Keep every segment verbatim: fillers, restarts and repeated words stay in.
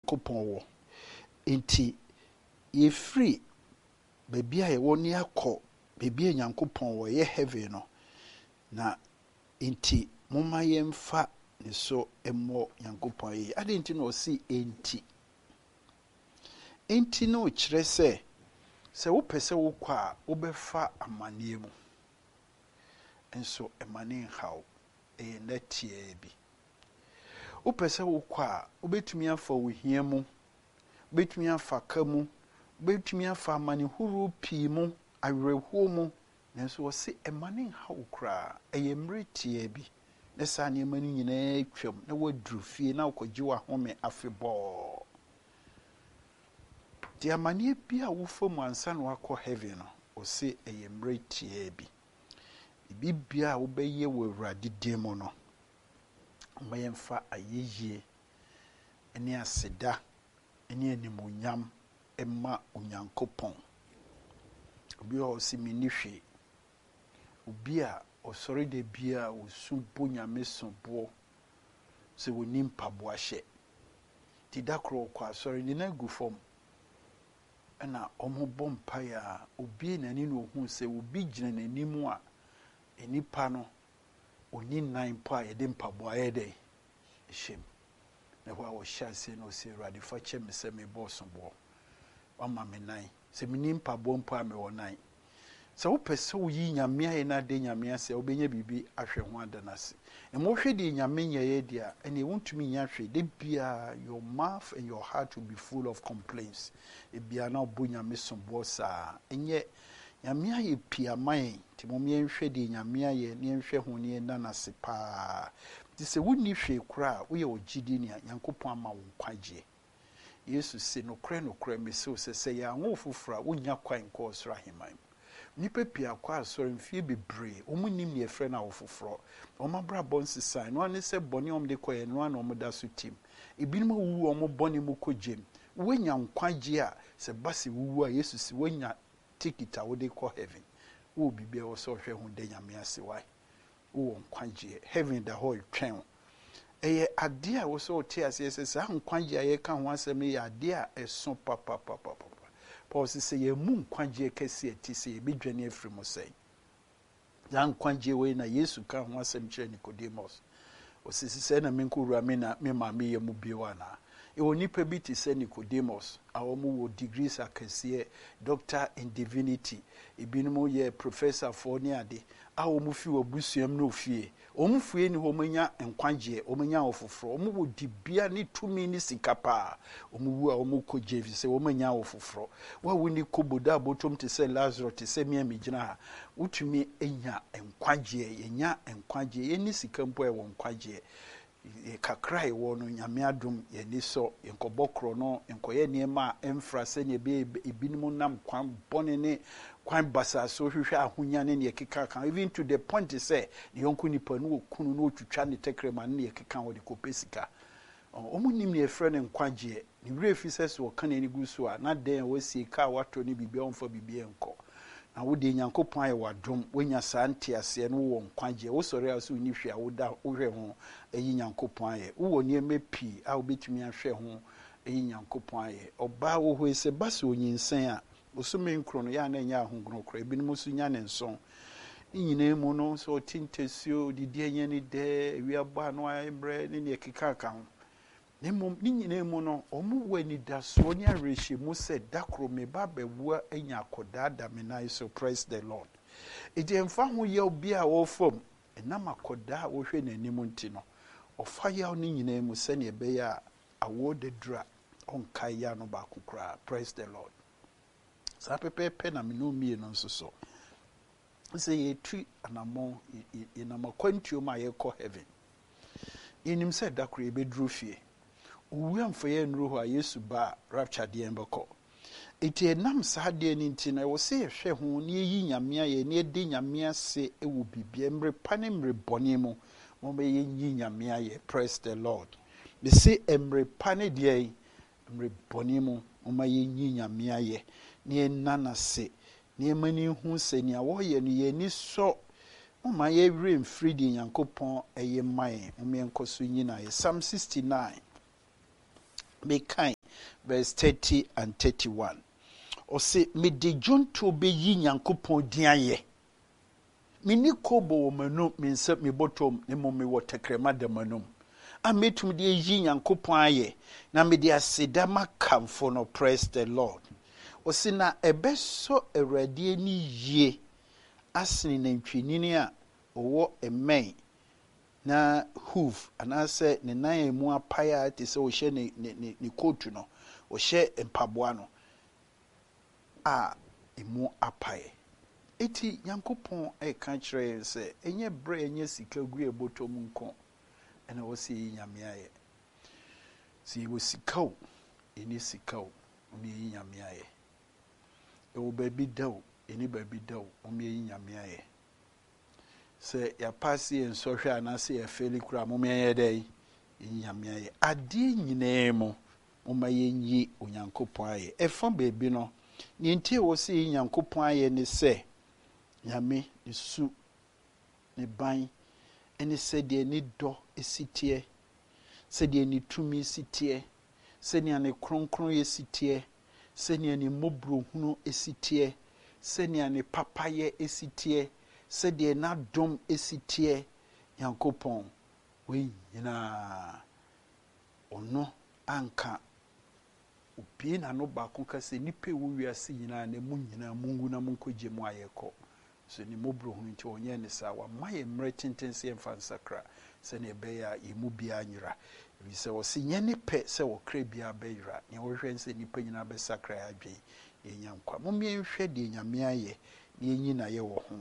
Nyankopɔn wɔ. Enti yɛfiri baabi a yɛwɔ ne akɔ baabi a Nyankopɔn wɔ, ɛyɛ heaven no. Na enti momma yɛmfa ne so mmɔ Nyankopɔn ayɛyi. Adɛn nti na ɔse enti? Enti no kyerɛ sɛ, sɛ wopɛ sɛ wokɔ a, wobɛfa amanneɛ mu. Nso ɛma ne nhaw, ɛyɛ nna tiaa bi. Wopɛ sɛ wokɔ a, wobɛtumi afa ohia mu, wobɛtumi afa ka mu, wobɛtumi afa amanehorow pii mu, awerɛhoɔ mu, nanso wɔse ɛma ne nhaw koraa, ɛyɛ mmerɛ tiaa bi. Na saa nneɛma no nyinaa twam na woaduru fie na wokɔgye w'ahome afebɔɔ. Nti amanneɛ bi a wofa mu ansa na wakɔ heaven no, ɔse ɛyɛ mmerɛ tiaa bi. Biribiara a wobɛyɛ wɔ Awurade din mu no, ma yɛmfa ayɛyie ne aseda ne animuonyam ma Onyankopɔn. Obi wɔ hɔ a ɔse menni hwee. Obi a ɔsɔre da biara osu bɔ Nyame soboɔ sɛ wɔnni mpaboa hyɛ. Nti da koro ɔkɔ asɔre, ne nan gu fam, ɛna ɔmo mpaeɛ a, obie n'ani na ohuu sɛ obi gyina n'anim a nipa no ɔni nan mpo a yɛde mpaboa yɛ dɛ hyɛ mu. Na hɔ a wɔhyɛ aseɛ na ɔsɛ, "Awurade, fa kyɛ me sɛ mebɔ soboɔ. Wama me nan. Sɛ menni mpaboa mpo a, mewɔ nan." Sɛ wopɛ sɛ woyi Nyame ayɛ no ade Nyame ase a, wobɛnya biribi ahwɛ ho ada no ase. Na ma wohwɛ deɛ Nyame nyɛeɛ deɛ a, ɛneɛ wontumi nya hwee. Da biara your mouth and your heart will be full of complaints. Ebia na wobɔ Nyame soboɔ saa. Ɛnyɛ Nyame ayɛ pii ama yɛn, nti mom yɛnhwɛ deɛ Nyame ayɛ na yɛnhwɛ ho na yɛnna no ase paa. Nti sɛ wonni hwee koraa a, woyɛ ogyidini a, Nyankopɔn ama wo nkwagyeɛ. Yesu se, "Nokorɛ, nokorɛ, mese wo sɛ, sɛ yɛanwo wo foforɔ a, wonnya kwan nkɔ ɔsoro ahemman mu." Nnipa pii akɔ asɔre mfie bebree, wɔn nnim deɛ yɛfrɛ no awo foforɔ. Wɔn abrabɔ nsesan, no ara ne sɛ bɔne a wɔde kɔeɛ no ara na wɔda so tim. Ebinom awuwu wɔn bɔne mu kɔ gyem. Woanya nkwagyeɛ a, sɛ ba sɛ wuwu a, Yesu se woanya ticket a wode kɔ heaven. Wowɔ biribi a ɛwɔ sɛ ɔhwɛ ho da Nyame ase wae. Wowɔ nkwagyeɛ. Heaven da hɔ retwɛn wo. Ɛyɛ adeɛ a ɛwɔ sɛ ɔte aseɛ sɛ saa nkwagyeɛ a yɛka ho asɛm no yɛ adeɛ a ɛso papapapapa. Paul sɛ sɛ yɛn nkwagyeɛ kɛseɛ ti sɛ yɛbɛdwane afiri mu sɛn. Saa nkwagyeɛ wei na Yesu ka ho asɛm kyerɛ Nicodemus. Ɔsɛ sɛ na menkɔwura me na me maame yɛ mu bio anaa? Ɛwɔ nnipa bi te sɛ Nicodemus a wɔn wɔ degrees akɛseɛ, doctor in divinity, ebinom yɛ professorfoɔ ne ade a wɔn fi wɔ abusua mu ne ofie. Wɔn fie ni hɔ, wɔn anya nkwagyeɛ, wɔn anya awofoforɔ, wɔn wɔ dibea ne tumi ne sika paa. Wɔn wu a, wɔn kɔ gye fi sɛ wɔn anya awofoforɔ. Wɔn a wɔni kobo da abotom te sɛ Lazarus, te sɛ mmea mi gyina ha, wotumi anya nkwagyeɛ. Yɛnya nkwagyeɛ, yɛni sika mpo a, ɛwɔ nkwagyeɛ kakra a ɛwɔ no. Nyame adom, yɛni sɔ, yɛnkɔbɔ korɔ no, nkɔyɛ nneɛma a ɛmfra sɛnea ɛbɛyɛ ebinom nam kwan bɔne ne kwan basaa so hwehwɛ ahonya ne neɛ ɛkeka ka, even to the point sɛ ne yɔnko nipa no wɔ kunu no wɔtwitwa ne tɛkrɛma ne neɛ ɛkeka wɔde kɔpɛ sika. Wɔn nim neɛ ɛfrɛ no nkwagyeɛ. Ne werɛ fi sɛ sɛ ɔka n'ani gu so a, na dan a wasie, kaa watɔ ne biribi a ɔmfa biribi nkɔ. Na wode Nyankopɔn ayɛ w'adom, woanya saa nteaseɛ no, wowɔ nkwagyeɛ. Wosɔre a, sɛ wonni hwee a, woda wohwɛ ho ayi Nyankopɔn ayɛ. Wowɔ nneɛma pii a wobɛtumi ahwɛ ho ayi Nyankopɔn ayɛ. Ɔbaa wɔ hɔ yi, sɛ ba sɛ onyinsɛn a, bosome nkron no yɛ a na ɛnyɛ ahogono koraa. Ebinom nso nya ne nson. Ne nyinaa mu no, sɛ ɔte ntasuo, odidi ɛnyɛ ne dɛ, awia bɔ ano ayɛ mmerɛ ne neɛ keka ka ho. Na mmom ne nyinaa mu no, wɔn wɔ anidasoɔ ne awerɛhyɛmu sɛ da koro me ba bɛwu anya akɔdaa da me nan so. Praise the Lord. Eti ɛmfa ho yaw bi a wɔfam ɛnam akɔdaa a wɔhwɛ n'anim nti no, ɔfa yaw no nyinaa mu sɛnea ɛbɛyɛ a awoɔ da duru a, ɔnkae yaw no baako koraa. Praise the Lord. Saa pɛpɛɛpɛ na me ne mmienu nso so sɛ yɛtu anammɔn, yɛnam akwantuo mu a yɛkɔ heaven. Yɛnim sɛ da koro yɛbɛduru fie. Owu amfa yɛn nnuru hɔ a, Yesu ba a, rapture deɛ bɛkɔ. Eti ɛnam saa adeɛ no nti no, ɛwɔ sɛ yɛhwɛ ho na yɛyi Nyame ayɛ na yɛde Nyame ase wɔ biribia, mmerɛ pa ne mmerɛ bɔne mu. Momma yɛnyi Nyame ayɛ. Praise the Lord. Mese mmerɛ pa ne deɛ mmerɛ bɔne mu, momma yɛnyi Nyame ayɛ na yɛnna n'ase na yɛma no hu sɛ nea wɔyɛ no yɛn ani sɔ. Momma yɛwerɛ mfiri deɛ Nyankopɔn ɛyɛ ma yɛn. Momma yɛnkɔ so nyi no ayɛ. Psalm sixty-nine. Mekan verse thirty and thirty-one. Ɔse, mede dwontoɔ bɛyi Nyankopɔn din ayɛ. Menni kobo wɔ m'anum, me nsa me bɔtɔm, na mmom mewɔ tɛkrɛma da m'anum a mɛtumi de ayi Nyankopɔn ayɛ, na mede aseda makamfo no. Praise the Lord. Ɔse, na ɛbɛsɔ Awurade ani yie asene nantwinini a ɔwɔ mmɛn na hoof anaasɛ ne nan a emu apae a te sɛ ɔhyɛ ne ne ne ne kootu no, ɔhyɛ mpaboa no a emu apae. Eti Nyankopɔn ɛka kyerɛ yɛn sɛ ɛnyɛ berɛ ɛnyɛ sika gu yɛ bɔtɔ mu nko ɛna wɔsɛ yi Nyame ayɛ. Sɛ yɛwɔ sika o, ɛni sika o, wɔn yɛyi Nyame ayɛ. Ɛwɔ baabi da o, ɛni baabi da o, wɔn yɛyi Nyame ayɛ. Sɛ yɛapaase yɛn nsɔhwɛ anaasɛ yɛfɛli koraa, mo yɛnyɛ dɛ yɛyi Nyame ayɛ. Adeɛ nyinaa mu, momma yɛnyi Onyankopɔn ayɛ. Ɛfa baabi no, nea nti a ɛwɔ sɛ yɛyi Nyankopɔn ayɛ ne sɛ, Nyame ne su, ne ban, ɛne sɛdeɛ ne dɔ si teɛ, sɛdeɛ ne tumi si teɛ, sɛnea ne kronkron si teɛ, sɛnea ne mmɔborɔhunu si teɛ, sɛnea ne papayɛ si teɛ, sɛdeɛ n'adom si teɛ. Nyankopɔn wei nyinaa, ɔno anka obie n'ano baako ka sɛ nnipa ɛwɔ wiase nyinaa na mu nyinaa mungu na monkɔgye mu ayɛ kɔ so. Ne mmɔborɔhunu nti ɔnyɛ ne saa. Wama yɛ mmerɛ tenten sɛ yɛmfa nsakra sɛnea ɛbɛyɛ a yɛn mu biara nyera, ɛfiri sɛ ɔse nyɛ ne pɛ sɛ wɔkra biara bɛyera. Nea wɔhwehwɛ ne sɛ nnipa nyinaa bɛsakra yɛ adwene na yɛnya nkwa. Momma yɛnhwɛ deɛ Nyame ayɛ na yɛnyi n'ayɛ wɔ ho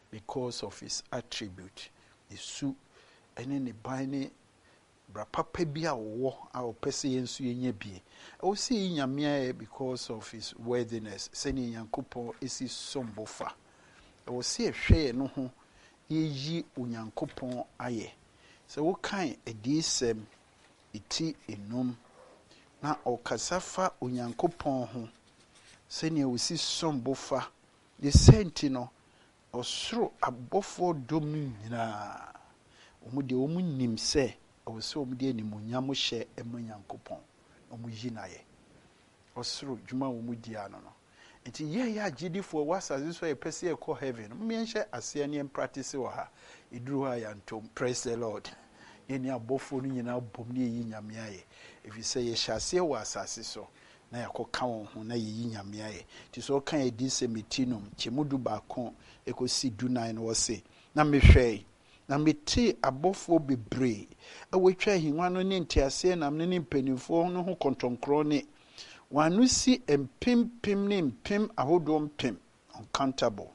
because of his attribute, ne su ɛne ne ban ne bra papa bi a ɔwɔ a ɔpɛ sɛ yɛn nso yɛnya bie. Ɛwɔ sɛ yɛyi Nyame ayɛ because of his worthiness, sɛnea Nyankopɔn esi som bo fa. Ɛwɔ sɛ yɛhwɛ yɛn no ho na yɛyi Onyankopɔn ayɛ. Sɛ wokan Adiyisɛm eti enum na ɔkasa fa Onyankopɔn ho sɛnea osi som bo fa ne sɛ nti no, ɔsoro abɔfoɔ dɔm no nyinaa, wɔn deɛ wɔn nim sɛ ɛwɔ sɛ wɔn de animuonyam hyɛ ɛma Nyankopɔn na wɔn yi n'ayɛ. Ɔsoro dwuma a wɔn di ano no nti, yɛn yɛ agyidifoɔ wɔ asase so a yɛpɛ sɛ yɛkɔ heaven no, yɛnhyɛ aseɛ ne yɛn practice wɔ ha. Ɛduru hɔ a yɛantom. Praise the Lord. Yɛne abɔfoɔ no nyinaa bom ne yɛyi Nyame ayɛ, ɛfiri sɛ yɛhyɛ aseɛ wɔ asase so na yɛakɔka wɔn ho na yɛyi Nyame ayɛ. Nti sɛ ɔka Adiyisɛm eti num kyɛmu du baako ɛkɔsi du nan no, wɔ na mehwɛe na metee abɔfoɔ bebree a wɔatwa ahengua no ne nteaseɛnam no ne mpanimfoɔ no ho kɔntɔnkorɔ ne wɔn ano si mpempem ne mpem ahodoɔ mpem, uncountable,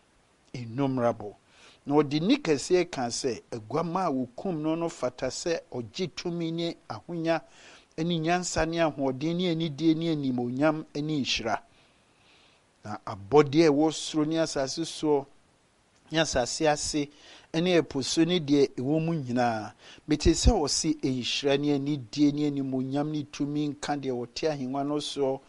innumerable, na ɔde nni kɛseɛ ka sɛ, Aguama a wɔkum no no fata sɛ ɔgye tumi ne ahonya ne nyansa ne ahoɔden ne anidie ne animonyam ne nhyira. Na abɔdeɛ a ɛwɔ soro ne asase soɔ ne asase ase ne ɛpo so ne deɛ ɛwɔ mu nyinaa, mete sɛ ɔse, nhyira ne anidie ne animonyam ne tumi nka deɛ wɔte ahengua no soɔ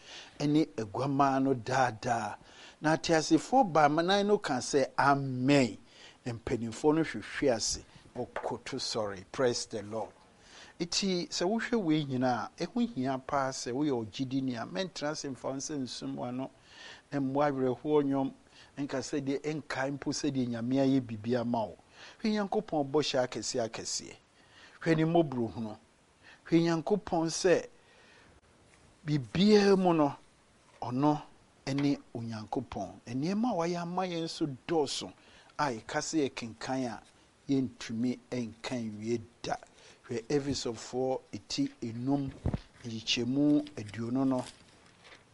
ne aguamaa no daadaa. Na ateasefoɔ baanan no ka sɛ, "Amen." Na mpanimfoɔ no hwehwe ase ɔkoto sɔre. Praise the Lord. Nti sɛ wohwɛ wei nyinaa, ɛho hia paa sɛ woyɛ ɔgyidini a, mɛntena ase mfa wo nsa nsum w'ano na mmoa awerɛhoɔ nnwom nka sɛdeɛ ɛnkae mpo sɛdeɛ Nyame ayɛ biribi ama wo. Hwɛ Nyankopɔn bɔhyɛ akɛseɛ akɛseɛ, hwɛ ne mmɔborɔhunu, hwɛ Nyankopɔn sɛ biribiara mu no ɔno ne Onyankopɔn. Nneɛma a wayɛ ama yɛn nso dɔɔso a yɛka sɛ yɛkenkan a yɛntumi nka nwie da. Hwɛ Efesofoɔ eti enum nkyekyɛmu aduonu no,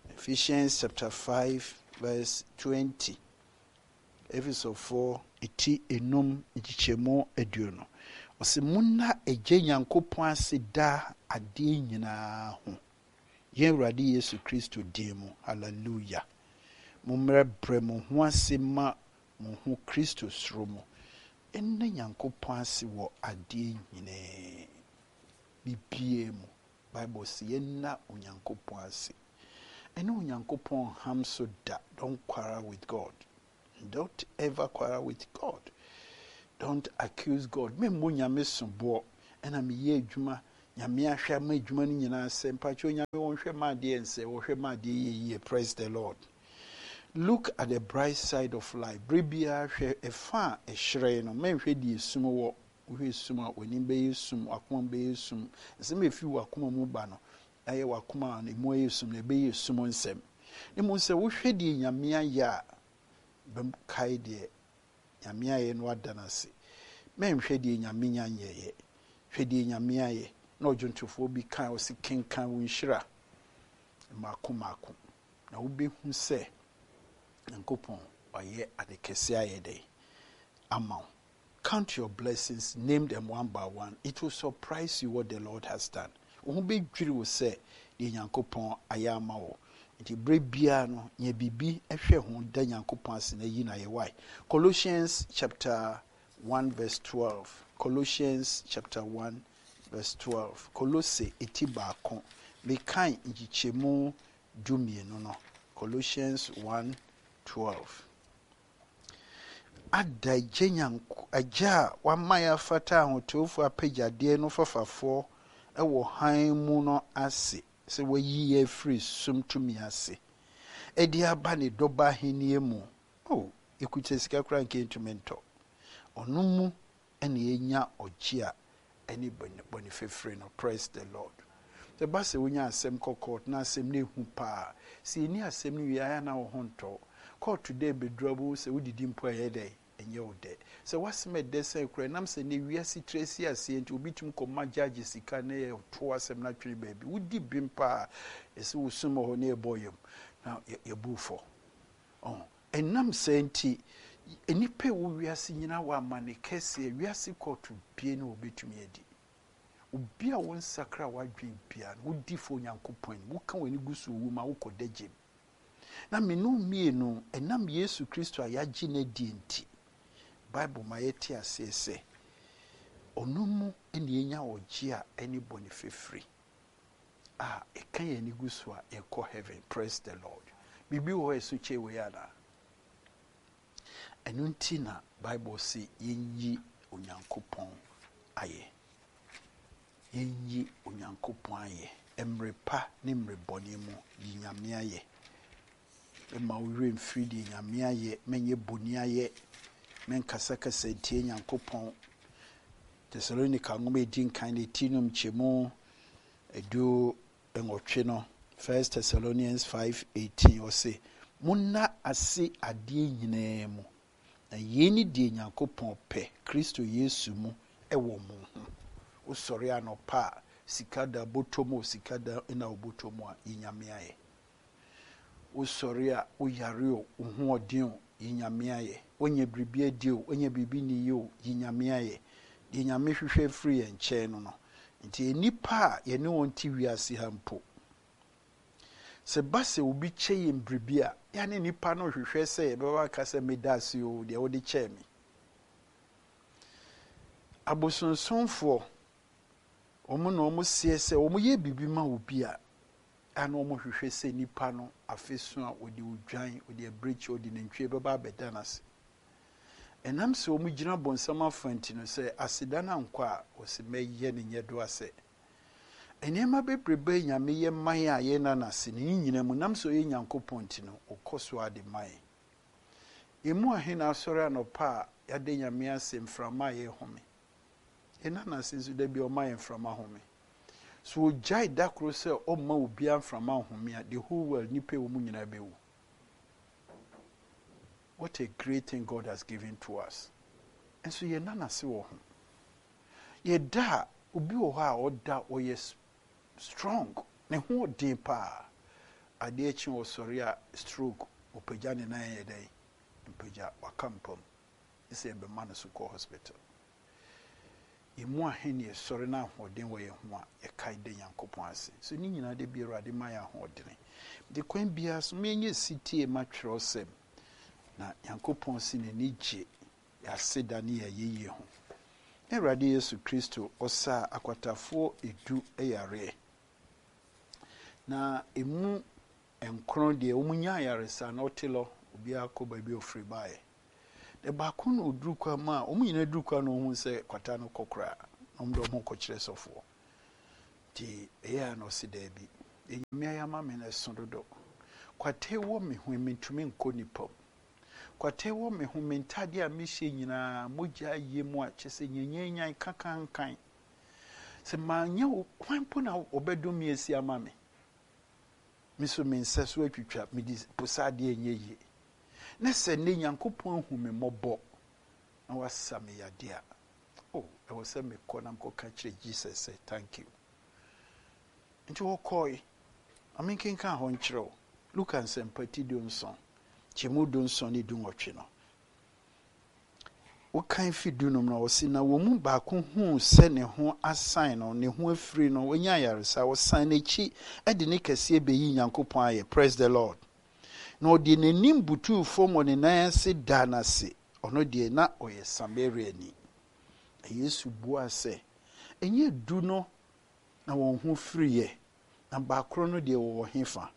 Ephesians chapter five verse twenty. Efesofoɔ eti enum nkyekyɛmu aduonu, ɔsɛ, "Monna Agya Nyankopɔn ase daa adeɛ nyinaa ho, yɛn Awurade Yesu Kristo din mu." Hallelujah. Mommrɛbrɛ mo ho ase ma mo ho Kristo soro mu. Ɛnna Nyankopɔn ase wɔ adeɛ nyinaa bibie mu. Bible sɛ yɛnna Onyankopɔn ase. Ɛne Onyankopɔn ham so da. Don't quarrel with God. Don't ever quarrel with God. Don't accuse God. Memmɔ Nyame soboɔ. Ɛna meyɛ adwuma. Nyame ahwɛ ama adwuma no nyinaa sɛ mpakyɛ Onyame wɔnhwɛ ma adeɛ nsɛ, wɔhwɛ ma adeɛ yɛ yie. Praise the Lord. Look at the bright side of life. Bere biara hwɛ ɛfa a ɛhyerɛn no, mɛnhwɛ deɛ esum wɔ. Wohwɛ sum a, w'anim bɛyɛ sum, w'akoma bɛyɛ sum. Nsɛm a efi w'akoma mu ba no, ɛyɛ w'akoma a emu ayɛ sum na ɛbɛyɛ sum nsɛm. Ne mu sɛ wohwɛ deɛ Nyame ayɛ a, bɛkae deɛ Nyame ayɛ no ada no ase. Mɛnhwɛ deɛ Nyame nya nyɛyɛ, hwɛ deɛ Nyame ayɛ. Na ɔdwontofoɔ bi kan ɔsi, "Kenkan wo nhyira mmaako mmaako na wobɛhu sɛ Nyankopɔn ɔyɛ ade kɛse ayɛ dɛ ama wo." Count your blessings, name them one by one. It will surprise you what the Lord has done. Wo ho bɛdwiri wo sɛ deɛ Nyankopɔn ayɛ ama wo. Nti berɛ biara no, nyɛ biribi hwɛ ho da Nyankopɔn ase na yi na yɛ wae. Colossians chapter one verse twelve. Colossians chapter one verse twelve. Kolose eti baako, mekan nkyekyɛmu du mmienu no. Colossians one twelve. Ada agya Nyanko agya a wama yɛ afata ahotewfoɔ apagyadeɛ no fafafoɔ wɔ hann mu no ase sɛ wayi yɛ afiri sum tumi ase ɛde aba ne dɔba ahenni mu. Oh, yɛkuta sika koraa nka ntumi ntɔ. Ɔno mu ɛna yɛnya ɔgye a ɛne bɔne fɛfiri no. Praise the Lord. Sɛ ba sɛ wonya asɛm kɔ court na asɛm no ehu paa, sɛ yɛni asɛm no wie ayɛ na wo ho ntɔ court dɛ bɛduru abo sɛ wodidi mpo a, ɛyɛ dɛ ɛnyɛ wo dɛ. Sɛ wasɛm ɛdɛ sɛn koraa, ɛnam sɛ ne wiase tiri asi aseɛ nti, obi tumi kɔma gyagye sika na yɛ to asɛm no atwene baabi. Wodi bim paa, ɛsɛ wosum wɔ hɔ na yɛbɔ yam na yɛbu fɔ. Ɛnam sɛ nti nnipa a ɛwɔ wiase nyinaa wɔ amane kɛseɛ. Wiase kɔɔto bie ne wɔbɛtumi adi obi a wɔnsakra w'adwen bia no, wodi fo Onyankopɔn anim, woka w'ani gu so owu ma wokɔ da gyem. Na menu mmienu, ɛnam Yesu Kristo a yɛagye no adi nti, Bible ma yɛte aseɛ sɛ ɔno mu ɛna yɛnya ɔgye a ɛne bɔne fɛfiri a ɛka yɛn ani gu so a yɛkɔ heaven. Praise the Lord. Biribi wɔ hɔ ɛso kyɛ wei anaa? Ɛno nti na Bible se yɛnyi Onyankopɔn ayɛ, yɛnyi Onyankopɔn ayɛ mmerɛ pa ne mmerɛ bɔne mu. Yi Nyame ayɛ. Mma wo werɛ mfiri deɛ Nyame ayɛ. Mɛnyɛ bɔne ayɛ, mɛnkasakasa ntie Nyankopɔn. Tesalonika nwoma ɛdi nkan ne ti nom kyɛmu edu nwɔtwe no, First Thessalonians five eighteen, ɔse, "Monna ase adeɛ nyinaa mu, na yei ne deɛ Nyankopɔn pɛ Kristo Yesu mu ɛwɔ mo ho." Wosɔre anɔpa a, sika da bɔtɔ mu o, sika da na wobɔtɔ mu a, yi Nyame ayɛ. Wosɔre a, woyare o, wo ho ɔden o, yi Nyame ayɛ. Wonya biribi adi o, wonya biribi ni o, yi Nyame ayɛ. Deɛ Nyame hwehwɛ firi yɛn nkyɛn no no nti, nnipa a yɛne wɔn te wiase ha mpo, sɛ ba sɛ obi kyɛ yɛn biribi a, yɛne nipa no hwehwɛ sɛ yɛbɛba aka sɛ, "Meda ase o, deɛ wode kyɛɛ me." Abosonsomfoɔ, wɔn na wɔn seɛ sɛ wɔn yɛ biribi ma obi a, ana wɔn hwehwɛ sɛ nipa no afe so a, wɔde odwan, wɔde abirekyi, wɔde nantwie bɛba abɛda n'ase. Ɛnam sɛ wɔn gyina bɔnsam afa nti no, sɛ aseda no ankɔ a, wɔsi mɛyɛ ne nyɛ do asɛ nneɛma bebrebe. Nyame yɛ man a yɛna n'ase ne nyinaa mu, nam sɛ ɔyɛ Nyankopɔn nti no, ɔkɔ so ade man. Emu ahe na asɔre anɔpa a yɛade Nyame ase mframa a yɛhome? Yɛna n'ase nso da bi ɔma yɛn mframa home. So ogyae da koro sɛ ɔmma obiara mframa home a, the whole world nipa wɔ mu nyinaa bɛwu. What a great thing God has given to us! Nso yɛna n'ase wɔ ho. Yɛda a, obi wɔ hɔ a ɔda, ɔyɛ strong, ne ho ɔden paa. Adeɛ kye, ɔsɔre a, stroke, ɔpagya ne nan yɛ dɛn mpagya, waka mpam sɛ yɛbɛma no so kɔ hospital. Emu ahe ne yɛsɔre na ahoɔden wɔ yɛn ho a yɛkae da Nyankopɔn ase? So ne nyinaa de bi Awurade ma yɛ ahoɔdene de kwan biara so menyɛ sitie ma twerɛsɛm na Nyankopɔn si n'ani gye yɛase da ne yɛayɛyie ho. Na Awurade Yesu Kristo ɔsaa akwatafoɔ edu yareɛ, na emu nkron deɛ, wɔn nya ayaresa na ɔte lɔ, obiara kɔ baabi a ofiri baeɛ. Na baako na oduru kwan mu a wɔn nyinaa duru kwan na ohun sɛ kwata no kɔ koraa, na wɔn de wɔn kɔkyerɛ sɔfoɔ. Nti ɛyɛ a na ɔse daabi, deɛ Nyame ayɛ ama me no ɛso dodo. Kwata wɔ me ho, mentumi nkɔ nipa mu. Kwata wɔ me ho, me ntadeɛ a mehyɛ nyinaa mogya ayɛ mu a kyerɛ sɛ nyanyanyan kakankan. Sɛ manyɛ wo, hwan mpo na ɔbɛdom me asi ama me? Me nso me nsa so atwitwa, mede posa adeɛ nyɛ yie. Na sɛ nnɛ Nyankopɔn ahu me mmɔbɔ na wasa me yadeɛ a, oh, ɛwɔ sɛ mekɔ na mekɔka kyerɛ Jesus sɛ thank you. Nti wɔkɔe. Ma menkenkan hɔ nkyerɛ wo. Luka Nsɛmpa ti dunson, kyɛmu dunson ne dunwɔtwe no. Wokan fi dunum no, ɔse na wɔn mu baako huu sɛ ne ho asan no, ne ho afiri no, wanya ayaresa, ɔsan n'akyi de ne kɛseɛ bɛyi Nyankopɔn ayɛ. Praise the Lord. Na ɔde n'anim butuu fam wɔ ne nan ase daa n'ase. Ɔno deɛ na ɔyɛ Samariani. Na Yesu buaa sɛ, ɛnyɛ du no na wɔn ho firiiɛ, na baakoro no deɛ wɔwɔ hefa?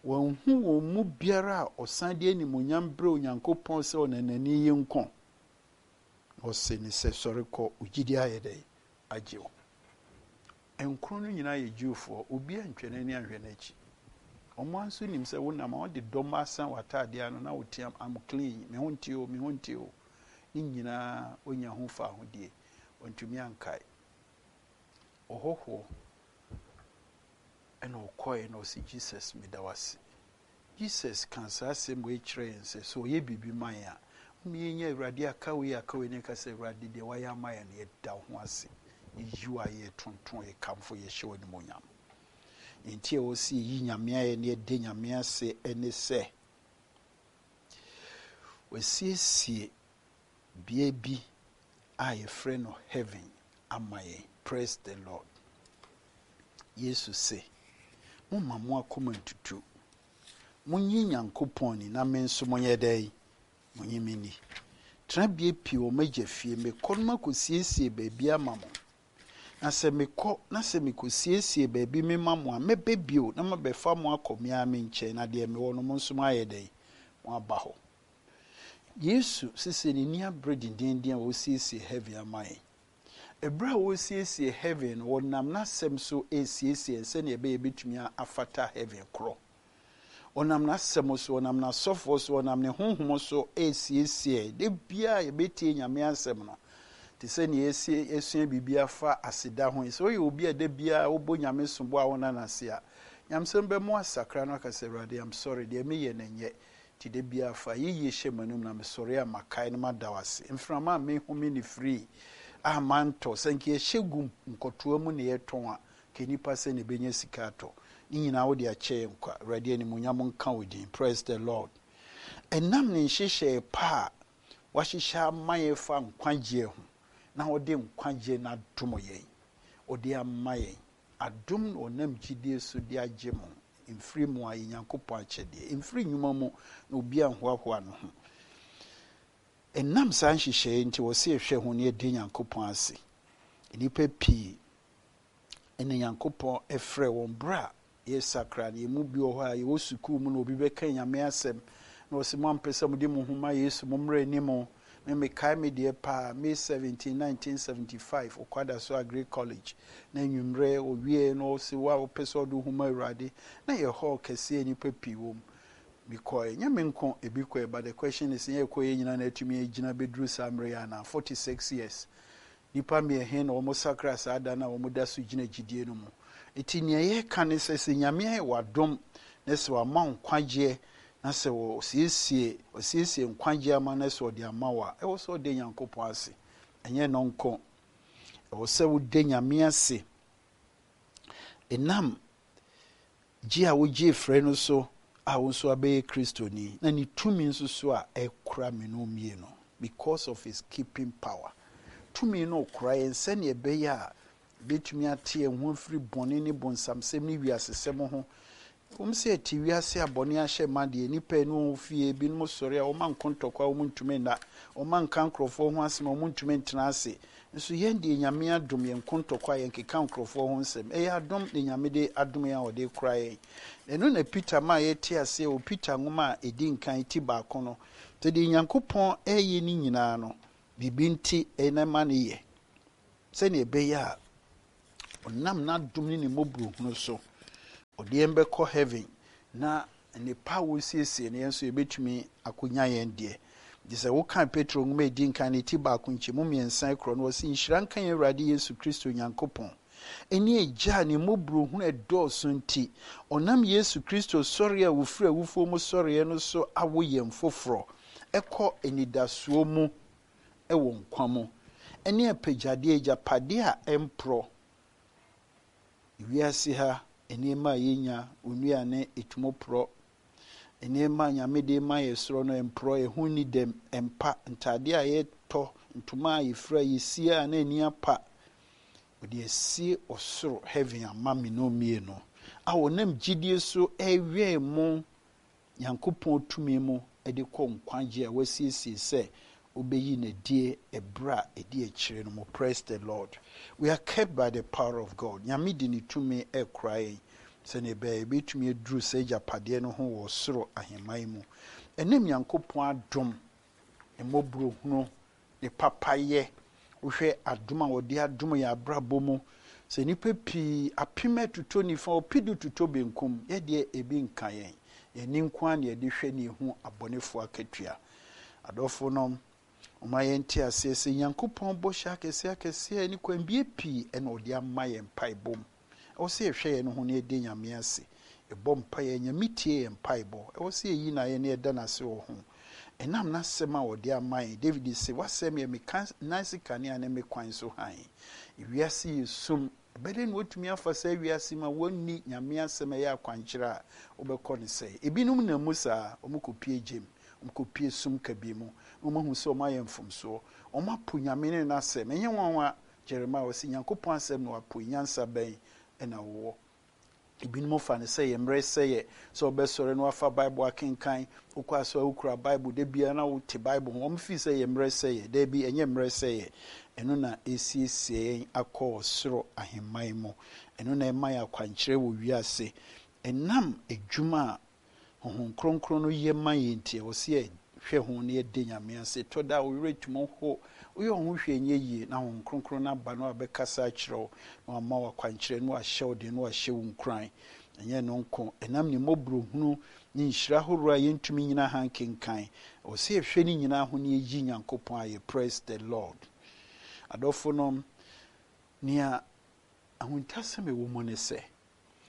Wɔanhu wɔn mu biara a ɔsan de animuonyam brɛ Onyankopɔn sɛ ɔnanani yi nko. Na ɔse ne sɛ, sɔre kɔ, wo gyidie ayɛ dɛn? Agye wo. Nkron no nyinaa yɛ Jewfoɔ, obi antwa n'ani anhwɛ n'akyi. Ɔmo nso nim sɛ wonam a wɔde dɔm asan w'ataadeɛ ano na woteam, I'm clean, me ho nte o, me ho nte o. Ne nyinaa onya ho fa ahodie, wɔntumi ankae. Ɔhɔhoɔ ɛna ɔkɔɛ na ɔsi Jesus meda wo ase. Jesus ka saa asɛm wei kyerɛ yɛn sɛ sɛ ɔyɛ biribi ma yɛn a, yɛnya Awurade aka wei aka wei ne ka sɛ Awurade deɛ wayɛ ama yɛn no yɛda wo ho ase. Yɛyi wo ayɛ, yɛtonton, yɛkamfo, yɛhyɛ wo animuonyam. Nti a ɛwɔ sɛ yɛyi Nyame ayɛ na yɛda Nyame ase ne sɛ wasiesie bea bi a yɛfrɛ no heaven ama yɛn. Praise the Lord. Yesu se, momma mo akoma ntutu. Monyi Nyankopɔn ni na me nso monyɛ dɛn? Monyi me ni. Tenabea pii wɔ m'agya fie. Mekɔ no makɔsiesie baabi ama mo. Na sɛ mekɔ na sɛ mekɔsiesie baabi mema mo a, mɛbɛ bio na mabɛfa mo akɔ me ara me nkyɛn, na deɛ mewɔ no mo nso moayɛ dɛn? Moaba hɔ. Yesu sese n'ani abere dendenden a wɔsiesie heaven ama yɛn. Ɛberɛ a wɔsiesie heaven no, wɔnam n'asɛm so esiesie sɛnea ɛbɛyɛ bɛtumi afata heaven korɔ. Ɔnam n'asɛm so, ɔnam n'asɔfoɔ so, ɔnam ne honhom so esiesie. De biara yɛbɛtie Nyame asɛm no, te sɛ nea yɛsie esua biribi afa aseda ho yi. Sɛ woyɛ obi a da biara wobɔ Nyame sombo a wona n'ase a, nyamsɛm bɛmo asakra no aka sɛ, Awurade, I'm sorry, deɛ meyɛ no nyɛ. Nti da biara fa yɛyie hyɛ m'anom na mesɔre a makae no mada wo ase. Mframa a mehome ne free a mantɔ, sɛ nka yɛhyɛ gu nkɔtoa mu na yɛtɔn a, ka nnipa sɛ na ɛbɛnya sika atɔ. Ne nyinaa wode akyɛ yɛn kwa. Awurade animuonyam nka wo din. Praise the Lord. Ɛnam ne nhyehyɛe pa a wahyehyɛ ama yɛn fa nkwagyeɛ ho, na ɔde nkwagyeɛ no adom yɛn. Ɔde ama yɛn. Adom na ɔnam gyidie so de agye mo. Mfiri mu a yɛ Nyankopɔn akyɛdeɛ. Mfiri nnwuma mu na obi anhoahoa ne ho. Ɛnam saa nhyehyɛe nti wɔ sɛ yɛhwɛ ho na yɛde Nyankopɔn ase. Nnipa pii ɛna Nyankopɔn ɛfrɛ wɔn berɛ a yɛsakra no. Yɛn mu bi wɔ hɔ a yɛwɔ sukuu mu na obi bɛka Nyame asɛm na ɔsɛ mo ampɛ sɛ mode mo ho ma Yesu, mo mmerɛ anim. Me mekae me deɛ paa, May seventeen, nineteen seventy-five, Ɔkwadaso Agri College. Na anwummerɛ owie na ɔsɛ wo a wopɛ sɛ ɔde wo ho ma Awurade. Na yɛ hall kɛseɛ nnipa pii wɔ mu. Mekɔe, nyɛ me nko ebi kɔe, but the question is, yɛ kɔe yɛ nyinaa na atumi agyina bɛduru saa mmerɛ yi anaa? forty-six years. Nnipa mmiɛnhe na wɔn sakra saa da na wɔn da so gyina gyidie no mu. Eti nea yɛka ne sɛ, sɛ Nyame ayɛ w'adom na sɛ wama nkwagyeɛ na sɛ ɔsiesie, ɔsiesie nkwagyeɛ ama na sɛ ɔde ama wo a, ɛwɔ sɛ ɔde Nyankopɔn ase. Ɛnyɛ no nko. Ɛwɔ sɛ wode Nyame ase. Ɛnam gye a wogye frɛ no so a wo nso abɛyɛ Kristoni, na ne tumi nso so a ɛkura me no mmienu, because of his keeping power. Tumi no kura yɛn sɛnea ɛbɛyɛ a bɛtumi ate yɛn ho afiri bɔne ne bonsamsɛm ne wiasesɛm ho. Wɔn sɛ ɛte wiase a bɔne ahyɛ ma deɛ, nnipa yi ne wɔn fie, ebinom sɔre a wɔma nkontɔkwa a wɔn ntumi nna, wɔma nka nkurɔfoɔ ho asɛm a wɔn ntumi ntena ase. Nso yɛn deɛ Nyame adom yɛn nkontɔkwa a yɛnkeka nkurɔfoɔ ho nsɛm. Ɛyɛ adom na Nyame de adom yɛn a ɔde kura yɛn. Ɛno na Peter ma yɛte aseɛ wɔ Peter nwoma a ɛdi nkan ti baako no. Sɛ deɛ Nyankopɔn ɛyɛ ne nyinaa no, biribi nti ɛna ma ne yɛ. Sɛnea ɛbɛyɛ a Ɔnam n'adom ne ne mmɔborɔhunu so, ɔde yɛn bɛkɔ heaven na nnepa a wɔsiesie no, yɛn nso yɛbɛtumi akɔnya yɛn deɛ. Nti sɛ woka Petro nwoma a ɛdi nkan ne ti baako nkyɛmu mmiɛnsa korɔ no, wɔse, "Nhyira nka yɛn Awurade Yesu Kristo Nyankopɔn ɛne Agya a ne mmɔborɔhunu ɛdɔɔso nti, ɔnam Yesu Kristo sɔre a wɔfiri awufoɔ mu sɔreɛ no so awo yɛn foforɔ ɛkɔ anidasoɔ mu ɛwɔ nkwa mu, ɛne apagyadeɛ, agyapadeɛ a ɛmporɔ." Wiase ha nneɛma a yɛnya, onuane ɛtumu porɔ. Nneɛma a Nyame de ma yɛ soro no ɛmporɔ, ɛho ni dɛm, ɛmpa. Ntadeɛ a yɛtɔ, ntoma a yɛfira, yɛsie a na ani apa, wɔde asie ɔsoro heaven ama me no mmienu a wɔnam gyidie so ɛwɛn mu Nyankopɔn tumi mu de kɔ nkwagye a wasiesie sɛ wobɛyi n'adie ɛberɛ a ɛdi akyire no mu. Praise the Lord. We are kept by the power of God. Nyame de ne tumi ɛkora yɛn sɛnea ɛbɛyɛ yɛbɛtumi aduru sɛ agyapadeɛ no ho wɔ soro ahemman mu. Ɛnam Nyankopɔn adom, mmɔborɔhunu, ne papayɛ, wohwɛ adom a wɔde adom yɛ abrabɔ mu sɛ nnipa pii apem atutɔ nifa, ɔpedu tutɔ benkum, yɛdeɛ ebi nka yɛn. Yɛni nko ara na yɛde hwɛ ne ehu abɔnefoɔ akatua. Adɔfo nom, ɔma yɛnte aseɛ sɛ Nyankopɔn bɔhyɛ akɛseɛ akɛseɛ ne kwanbie pii ɛna ɔde ama yɛn mpaebɔ mu. Ɛwɔ sɛ yɛhwɛ yɛn ho na yɛde Nyame ase, yɛbɔ mpaeɛ. Nyame tie yɛn mpaebɔ. Ɛwɔ sɛ yɛyi na yɛn ne yɛda n'ase wɔ ho ɛnam n'asɛm a wɔde ama yɛn. David sɛ, "W'asɛm yɛ me nan se kanea ne me kwan so hann." Ewiase yɛ sum. Ɛbɛdɛ na watumi afa saa wiase mu a wɔnni Nyame asɛm a ɛyɛ akwankyerɛ a wobɛkɔ no sɛ ebinom nam mu saa, wɔn kɔpie gyem, wɔn kɔpie sum kabi mu na wɔn ahu sɛ wɔn ayɛ mfomsoɔ, wɔn apo Nyame ne n'asɛm. Ɛnyɛ nwanwa Jeremiah wɔsi Nyankopɔn asɛm na wapo. Nyansa bɛn ɛna wɔwɔ? Ebinom fa no sɛ yɛ mmerɛ sɛ yɛ sɛ wɔbɛsɔre na wafa Bible akenkan, wokɔ asɔ a wokura Bible da biara na wote Bible ho. Wɔn fi sɛ yɛ mmerɛ sɛ yɛ. Daabi, ɛnyɛ mmerɛ sɛ yɛ. Ɛno na esiesie yɛn akɔ ɔsoro ahemman mu. Ɛno na ɛma yɛ akwankyerɛ wɔ wiase. Ɛnam adwuma a Honhom Kronkron no yɛ ma yɛn nti, ɛwɔ sɛ yɛhwɛ ho na yɛde Nyame ase. Tɔ da a wo werɛ tumi ho, woyɛ wo ho hwɛ nyɛ yie, na Honhom Kronkron no aba na wabɛkasa akyerɛ wo na wama wo akwankyerɛ na wahyɛ wo den na wahyɛ wo nkuran. Ɛnyɛ no nko, ɛnam ne mmɔborɔhunu ne nhyira ahoroɔ a yɛntumi nyina ha nkenkan, ɛwɔ sɛ yɛhwɛ ne nyinaa ho na yɛyi Nyankopɔn ayɛ. Praise the Lord. Adɔfo nom, nea ahuntasɛm ɛwɔ mu ne sɛ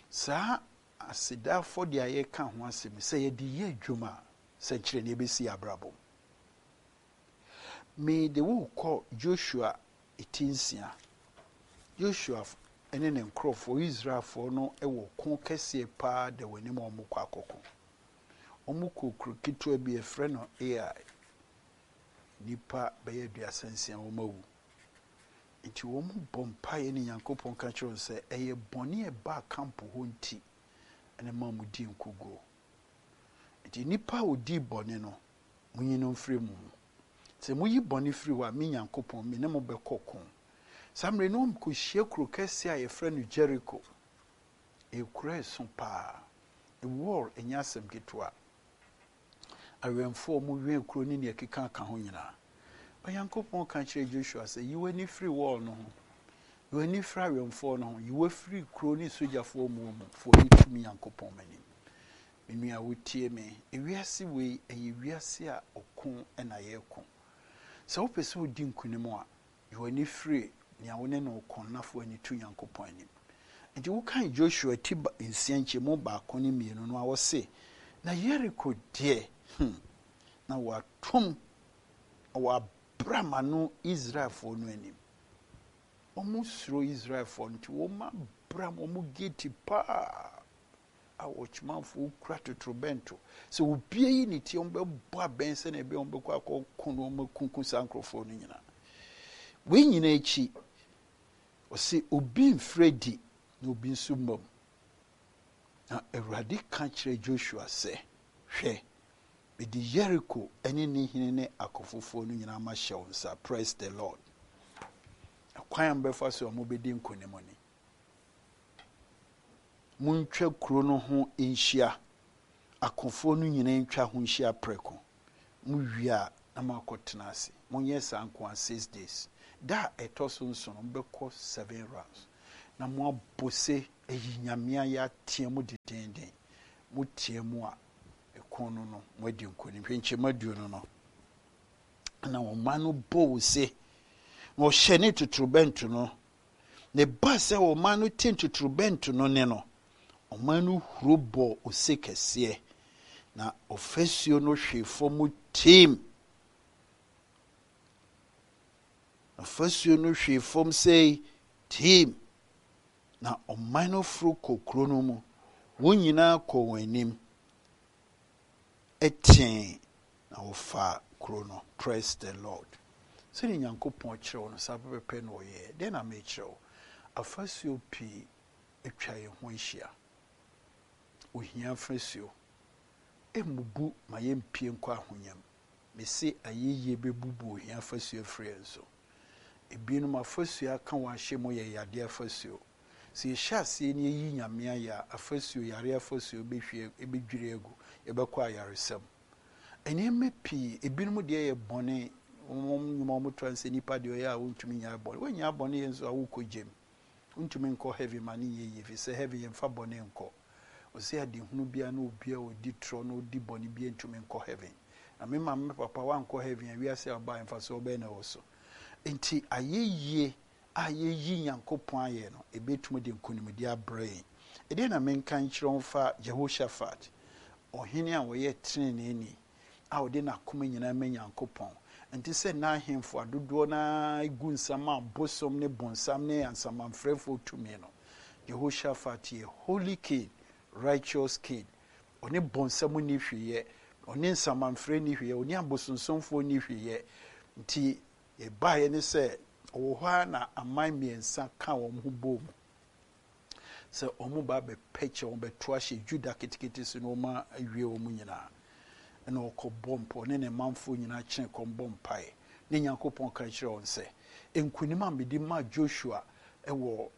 saa aseda afɔdeɛ a yɛka ho asɛm, sɛ yɛde yɛ adwuma a, sɛnkyerɛnneɛ bɛsi abrabɔ mu. Mede wo kɔ Joshua eti nsia. Joshua ne ne nkurɔfoɔ, Israelfoɔ no, wɔ ko kɛseɛ paa da wɔn anim a wɔkɔ akɔko. Wɔn kɔ kuro ketewa bi yɛfrɛ no Ai. Nipa bɛyɛ aduasa nsia wɔn awu. Nti wɔn bɔ mpaeɛ ne Nyankopɔn ka kyerɛ wɔn sɛ ɛyɛ bɔne a ɛbaa camp hɔ nti ɛna ma wɔn di nkoguo. Nti nipa a odi bɔne no, munyi no mfiri mu mu. Sɛ moyi bɔne firi hɔ a, me Nyankopɔn, me ne mo bɛkɔ ko. Saa mmerɛ no, wɔkɔhyia kuro kɛseɛ a yɛfrɛ no Jericho. Ɛyɛ ɛso paa. Wall ɛnyɛ asɛm ketewa. Awɛmfoɔ a wɔwɛn kuro ne nea ɛkeka ka ho nyinaa. Onyankopɔn ka kyerɛ Joshua sɛ, "Yi w'ani firi wall no ho, yi w'ani firi awɛmfoɔ no ho, yi w'afiri kuro ne sogyafoɔ mu mu fo w'ani tumi Nyankopɔn m'anim." Me nua wotie me, ewiase wei ɛyɛ wiase a ɔko ɛna yɛreko. Sɛ wopɛ sɛ wodi nkonim a, yi w'ani firi nea wo ne no ko na fa w'ani to Nyankopɔn anim. Nti wokan Joshua ti nsia nkyɛmu baako ne mmienu no a, wɔse na Yeriko deɛ, hmm, na wɔatom na wɔabra no Israelfoɔ no anim. Wɔn suro Israelfoɔ no nti wɔn abram wɔn gate paa a wɔkyemanfoɔ kura totorobɛnto sɛ obie yi ne tie, wɔn bɛbɔ abɛn sɛnea ɛbɛyɛ wɔn bɛkɔ akɔko na wɔn akunkum saa nkurɔfoɔ no nyinaa. Wei nyinaa akyi, ɔsi obi mfiri di na obi nso mmam. Na Awurade ka kyerɛ Joshua sɛ, "Hwɛ, mede Yeriko ne ne hene ne akɔfofoɔ no nyinaa ma hyɛ wo nsa." Praise the Lord. Ɛkwan a mbɛfa so a mobɛdi nkonim ni: montwa kuro no ho nhyia, akofoɔ no nyinaa ntwa ho nhyia prɛko. Mowie a, na moakɔtena ase. Monyɛ saa nko a six days. Da a ɛtɔ so nson no, mobɛkɔ seven rounds. na moabɔ se ayi Nyame ayɛ ateɛ mu dendeenden. Moteɛ mu a, ɛko no no, moadi nkonim. Hwɛ nkyɛmu aduonu no. Na ɔman no bɔɔ ose, na ɔhyɛnee totorobɛnto no. Na ɛbaa sɛ ɔman no tee totorobɛnto no nne no, ɔman no huro bɔɔ ose kɛseɛ, na ɔfasuo no hwee fam tim. Ɔfasuo no hwee fam sei tim, na ɔman no foro kɔ kuro no mu. Wɔn nyinaa kɔɔ wɔn anim tee, na wɔfaa kuro no. Praise the Lord. Sɛdeɛ Nyankopɔn kyerɛ wo no, saa pɛpɛpɛ na ɔyɛɛ. Deɛ na mekyerɛ wo, afasuo pii atwa yɛn ho ahyia. Ohia afasuo mmubu ma yɛmpie nkɔ ahonya mu. Mese ayɛyie bɛbubu ohia afasuo afiri yɛn so. Ebinom afasuo aka wɔn ahyɛ mu yɛ yadeɛ afasuo. Sɛ yɛhyɛ aseɛ na yɛyi Nyame ayɛ a, afasuo, yareɛ afasuo bɛhwie, bɛdwiri agu, yɛbɛkɔ ayaresam. Nneɛma pii, ebinom deɛ yɛ bɔne, wɔn nnwuma wɔn to sɛ nipa deɛ ɔyɛ a wɔntumi nyɛ bɔne. Wɔnyɛ bɔne yɛ nso a wokɔ gyem. Wontumi nkɔ heaven ma ne nyɛ yie, ɛfiri sɛ heaven yɛmfa bɔne nkɔ. Ɔsɛ adehunu biara na obi a ɔdi torɔ na ɔdi bɔne biara ntumi nkɔ heaven. Na me maame me papa wankɔ heaven a, wiase a ɔbaa mfasoɔ bɛyɛ na ɛwɔ so. Nti ayɛyie a yɛyi Nyankopɔn ayɛ no, ɛbɛtumi de nkonimdi abrɛ yɛn. Ɛdeɛ na menka nkyerɛ wo fa Jehoshaphat, ɔhene a ɔyɛ teneneeni a ɔde n'akoma nyinaa ma Nyankopɔn. Nti sɛ n'ahemfo adodoɔ naa gu nsam a bosom ne bonsam ne ansamanfrɛfoɔ tumi no, Jehoshaphat yɛ holy king, righteous king. Ɔne bonsam ni hweyɛ, ɔne nsamanfrɛ ni hweyɛ, ɔne abosonsomfoɔ ni hweyɛ. Nti yɛbaeɛ ne sɛ ɔwɔ hɔ a na aman mmiɛnsa ka wɔn ho bɔ mu sɛ wɔn ba bɛpɛkyɛ wɔn bɛto ahyɛ Juda ketekete so na wɔn awie wɔn nyinaa. Ɛna ɔkɔbɔ mpa, ɔne ne manfoɔ nyinaa kyerɛ kɔm bɔ mpaeɛ. Ne Nyankopɔn ka kyerɛ wɔn sɛ, nkunim a mede maa Joshua ɛwɔ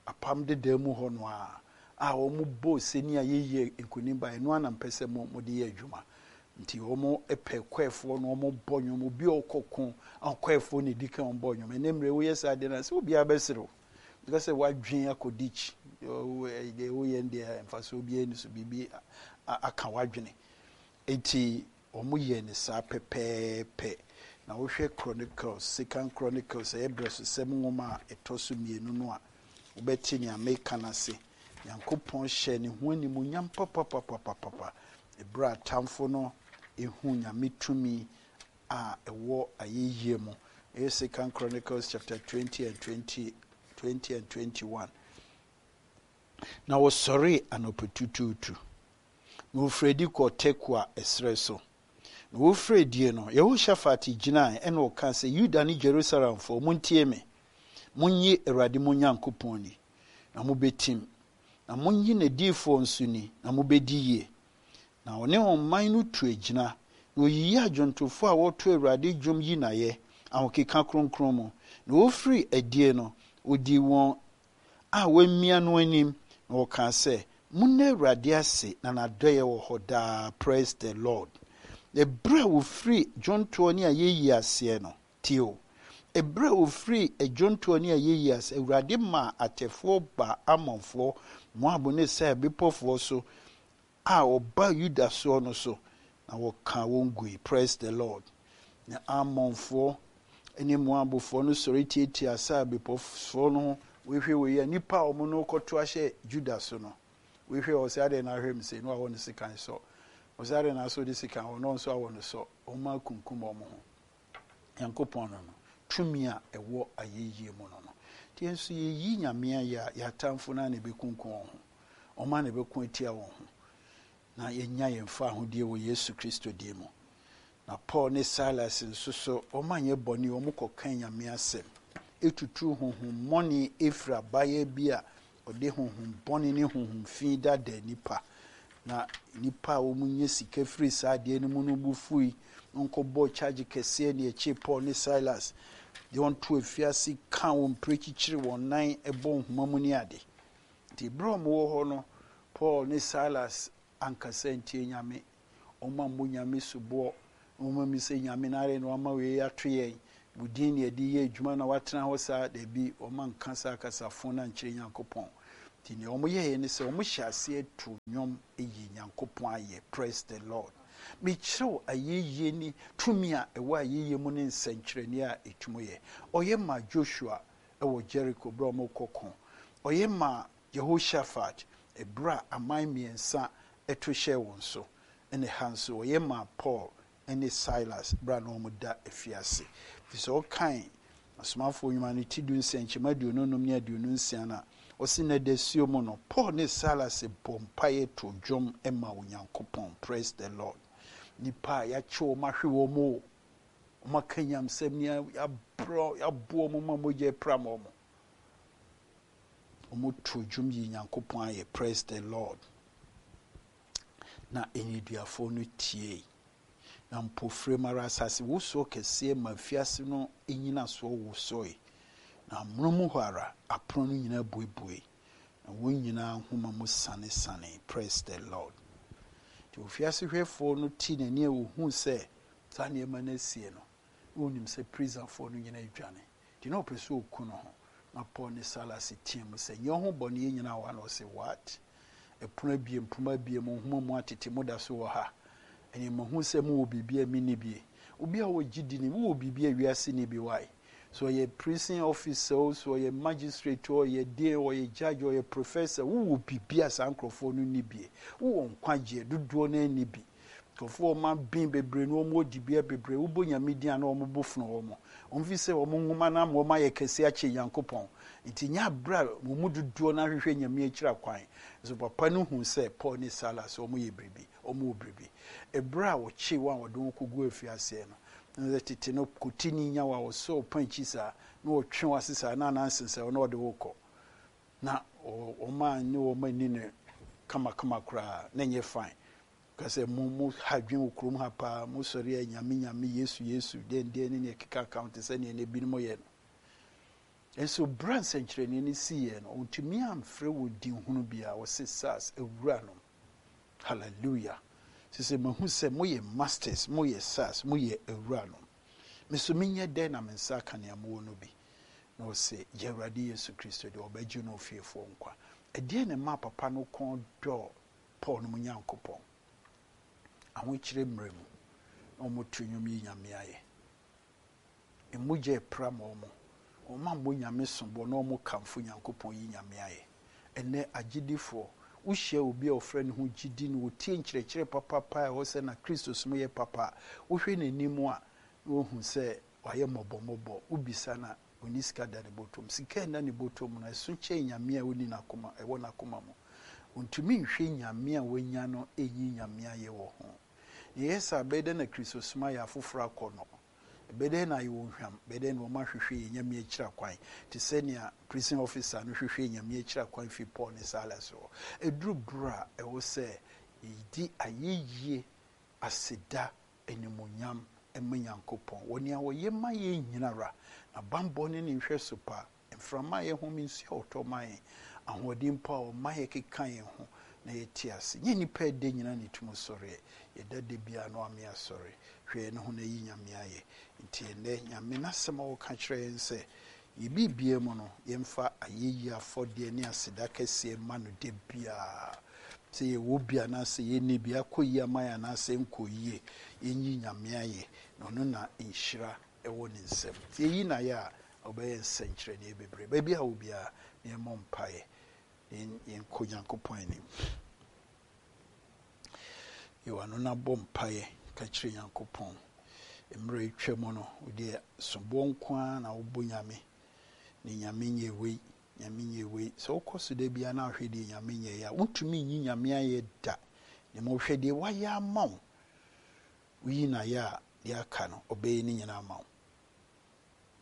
apam dedaa mu hɔ no a, a wɔn bɔ sani a yɛyɛ nkunim ba ɛno ana mpɛ sɛ mo mode yɛ adwuma. Nti wɔn pɛ kɔɛfoɔ na wɔn bɔ nnwom, obi a ɔkɔ ko a kɔɛfoɔ na edi kan wɔn bɔ nnwom. Ɛnɛ mmerɛ woyɛ saa adeɛ no sɛ obiara bɛserew. Because sɛ wadwen akɔ ditch, deɛ woyɛ deɛ mfasoɔ biara ni so, biribi aka wadwene. Eti wɔn yɛ ne saa pɛpɛɛpɛ. Na wohwɛ Chronicles, Second Chronicles, ɛyɛ brɛsosɛm nwoma a ɛtɔ so mmienu no a, wobɛte nea meka no ase. Nyankopɔn hyɛ ne ho animuonyam papapapapapa. Ɛberɛ a atamfo no ehu Nyame tumi a ɛwɔ ayɛyie mu. Ɛyɛ Second Chronicles chapter twenty and twenty, twenty and twenty-one. Na wɔsɔree anɔpatutuutu. Na wɔfiri adi kɔɔ Tekoa ɛserɛ so. Na wɔfiri adie no, Yehoshaphat gyinae ɛna ɔka sɛ, Yuda ne Jerusalemfoɔ, montie me. Monyi Awurade mo Nyankopɔn ni, na mobɛtim. Na monyi n'adiyifoɔ nso ni, na mobɛdi yie. Na ɔne ɔman no tu agyina, na oyiyi adwontofoɔ a wɔto Awurade dwom yi n'ayɛ, ahokeka kronkron mu. Na wɔfiri adie no, ɔdii wɔn a wɔamia no anim, na wɔkaa sɛ, Monna Awurade ase, na n'adɔeɛ wɔ hɔ daa. Praise the Lord. Ɛberɛ a wɔfiri dwontoɔ ne ayɛyie aseɛ no, tie o. Ɛberɛ a wɔfiri dwontoɔ ne ayɛyie ase, Awurade maa atɛfoɔ baa Amonfoɔ, Moab ne Seir bepɔfoɔ so a ɔba Yuda soɔ no so, na wɔkaa wɔn gui. Praise the Lord. Na Amonfoɔ ne Moabfoɔ no sɔre tiatia Seir bepɔfoɔ no ho. Wɔhwɛ wɔ yi a, nnipa a wɔn no kɔto ahyɛ Juda so no, wɔhwɛ wɔ sɛ adeɛ na ahwɛ mu sɛ, na wɔawɔ no sekan sɔ. Wɔsɛ adeɛ na asɔ de sekan wɔ, na wɔn nso awɔ no sɔ. Wɔn akunkum wɔn ho. Nyankopɔn no no, tumi a ɛwɔ ayɛyie mu no no. Nti yɛn nso yɛyi Nyame ayɛ a, yɛn atamfo no a na ɛbɛkunkum wɔn ho. Wɔn a na ɛbɛko atia wɔn ho. Na yɛnya yɛn fa ahodie wɔ Yesu Kristo din mu. Na Paul ne Silas nso so, wɔn anyɛ bɔne, wɔn kɔka Nyame asɛm. Etutu honhommɔne efiri abaayewa bi a ɔde honhommɔne ne honhom fi dada nipa. Na nipa a wɔn nyɛ sika firi saa adeɛ no mu no bo fui, nkɔbɔ charge kɛseɛ ne akyi Paul ne Silas. De wɔn to afiase ka wɔn mpire kyikyiri wɔn nan bɔ nhoma mu ne ade. Nti berɛ a wɔwɔ hɔ no, Paul ne Silas ankasa ntie Nyame. Wɔn ammɔ Nyame soboɔ. Wɔn ami sɛ Nyame na ayɛ na wɔama wei ato yɛn. Mo din na yɛde yɛ adwuma na woatena hɔ saa? Dabi, wɔanka saa kasafo no ankyerɛ Nyankopɔn. Nti nea wɔyɛeɛ ne sɛ wɔhyɛɛ aseɛ too nnwom yii Nyankopɔn ayɛ. Praise the Lord. Mekyerɛ wo ayɛyie ne tumi a ɛwɔ ayɛyie mu ne nsɛnkyerɛnneɛ a ɛtumi yɛ. Ɔyɛ maa Joshua wɔ Jericho berɛ a wɔrekɔ ko. Ɔyɛ maa Jehoshaphat berɛ a aman mmiɛnsa to hyɛɛ wɔn so. Ɛna ɛha nso ɔyɛ maa Paul ne Silas berɛ a na wɔda afiase. Nti sɛ wokan Asomafoɔ Nnwuma no ti du nsia nkyɛmu aduonu nnum ne aduonu nsia no a, ɔse na dasuo mu no, Paul ne Silas bɔɔ mpaeɛ too dwom maa Onyankopɔn. Praise the Lord. Nnipa a yɛakye wɔn ahwe wɔn o, wɔn aka nyamsɛm ni, yɛabrɛ, yɛabo wɔn ma mogya apram wɔn. Wɔn too dwom yii Nyankopɔn ayɛ. Praise the Lord. Na nneduafoɔ no tiei. Na mpofirim ara asase wosoɔ kɛseɛ ma afiase no nnyinasoɔ wosoe, na amonom hɔ ara apono no nyinaa buebuei, na wɔn nyinaa nhoma mu sanesanee. Praise the Lord. Nti ofiase hwɛfoɔ no tee n'ani a ɔhuu sɛ saa nneɛma no asie no, na ɔnim sɛ prisonfoɔ no nyinaa adwane. Nti na ɔpɛ sɛ ɔku ne ho. Na Paul ne Silas teaam sɛ, Nyɛ wo ho bɔne, yɛn nyinaa wɔ ha. Na ɔse, What? Ɛpono abien, mpoma abien, mo nhoma mu atete, moda so wɔ ha. Ɛneɛ mahu sɛ mowɔ biribi a menni bi. Obi a ɔwɔ gyidi ni, wowɔ biribi a wiase nni bi, why? So ɔyɛ prison officer o, so ɔyɛ magistrate o, ɔyɛ dean, ɔyɛ judge, ɔyɛ professor, wowɔ biribi a saa nkurɔfoɔ no nni bi. Wowɔ nkwagyeɛ, dodoɔ no ara nni bi. Nkurɔfoɔ a wɔaben bebree no, wɔwɔ dibea bebree, wobɔ Nyame din a na wɔn bo fono wɔn. Wɔn fi sɛ wɔn nwoma no ama wɔn ayɛ kɛse akyɛ Nyankopɔn. Nti nyɛ aberɛ a wɔn mu dodoɔ no ara hwehwɛ Nyame akyiri akwan. Nso papa no huu sɛ Paul ne Silas wɔn yɛ biribi, wɔn wɔ biribi. Ɛberɛ a wɔkyee wɔn a wɔde wɔn kɔguu afiaseɛ no, na sɛ tete no kotini nya wo a wɔsɔ wo pankyi saa, na wɔtwe wo ase saa, na anansesɛ wo na wɔde wo rekɔ. Na wɔn a ne wɔn anni no kamakama koraa, na ɛnyɛ fine. Ka sɛ, Mo, mo ha adwene wɔ kurom ha paa, mo sɔre a Nyame, Nyame, Yesu, Yesu, deɛn deɛn ne nea ɛkeka ka ho te sɛ nea na ebinom yɛ no. Nso berɛ a nsɛnkyerɛnneɛ no siiɛ no, ɔntumi amfrɛ wɔ din hunu biara, ɔse, Sirs, awuranom. Hallelujah. Sese mahu sɛ moyɛ masters, moyɛ sirs, moyɛ awuranom. Me nso menyɛ dɛn na me nsa aka nea mowɔ no bi? Na ɔse, Gye Awurade Yesu Kristo di, ɔbɛgye ne ofiefoɔ nkwa. Ɛdeɛn na ɛmaa papa no kɔn dɔɔ Paul nom Nyankopɔn? Ahokyerɛ mmerɛ mu na wɔn to nnwom yi Nyame ayɛ. Mmogya ɛpram wɔn, wɔn ammɔ Nyame soboɔ na wɔn kamfo Nyankopɔn yi Nyame ayɛ. Ɛnnɛ agyedifoɔ, wo hyia obi a ɔfrɛ ne ho gyidi na ɔtie nkyerɛkyerɛ papapa a ɛwɔ sɛ na Kristosom yɛ papa a, wo hwɛ n'anim a na wahu sɛ wayɛ mmɔbɔmmɔbɔ, wo bisa no a Onni sika da ne bɔtɔ mu. Sika a ɛnna ne bɔtɔ mu no, ɛso kyɛn Nyame a onni n'akoma, ɛwɔ n'akoma mu. Ontumi nhwɛ Nyame a wanya no nyi Nyame ayɛ wɔ ho. Nea ɛyɛ saa, ɛbɛyɛ dɛn na Kristosom ayɛ afoforo akɔnnɔ? Ɛbɛyɛ dɛn na ayɛ wɔn hwam? Ɛbɛyɛ dɛn na wɔahwehwɛ yɛn Nyame akyiri akwan, te sɛ nea prison officer no hwehwɛɛ Nyame akyiri akwan fii Paul ne Silas hɔ? Ɛduru bere a ɛwɔ sɛ yedi ayɛyie, aseda, animuonyam ma Nyankopɔn wɔ nea ɔyɛ ma yɛn nyinara, n'abanbɔ ne ne nhwɛso pa, mframa a yɛhome, nsu a ɔtɔ ma yɛn, ahoɔden mpo a ɔma yɛkeka yɛn ho na yɛte ase. Nyɛ nnipa a ɛda nyinaa na ɛtumi sɔreɛ. Yɛda da biara na wame asɔre. Hwɛ yɛn ho na yi Nyame ayɛ. Nti ɛnnɛ, Nyame n'asɛm a ɔka kyerɛ yɛn sɛ, Yɛn biribiara mu no, yɛmfa ayɛyie afɔdeɛ ne aseda kɛseɛ mma no da biara. Sɛ yɛwɔ bi anaasɛ yɛnni bi, akɔ yie ama yɛn anaasɛ ɛnkɔɔ yie, yɛnyi Nyame ayɛ, na ɔno na nhyira wɔ ne nsam. Sɛ yɛyi no ayɛ a, ɔbɛyɛ nsɛnkyerɛnneɛ bebree. Baabi a wɔ biara, na yɛmmɔ mpaeɛ na yɛnkɔ Nyankopɔn anim. Yɛ w'ano na bɔ mpaeɛ ka kyerɛ Nyankopɔn. Mmerɛ atwa mu no, wo deɛ soboɔ nko ara na wobɔ Nyame. Ne Nyame nyɛ wei, Nyame nyɛ wei. Sɛ wokɔ so da biara na wohwɛ deɛ Nyame nyɛeɛ a, wontumi nyi Nyame ayɛ da. Na mmom hwɛ deɛ wayɛ ama wo. Woyi no ayɛ a, deɛ aka no, ɔbɛyɛ ne nyinaa ama wo.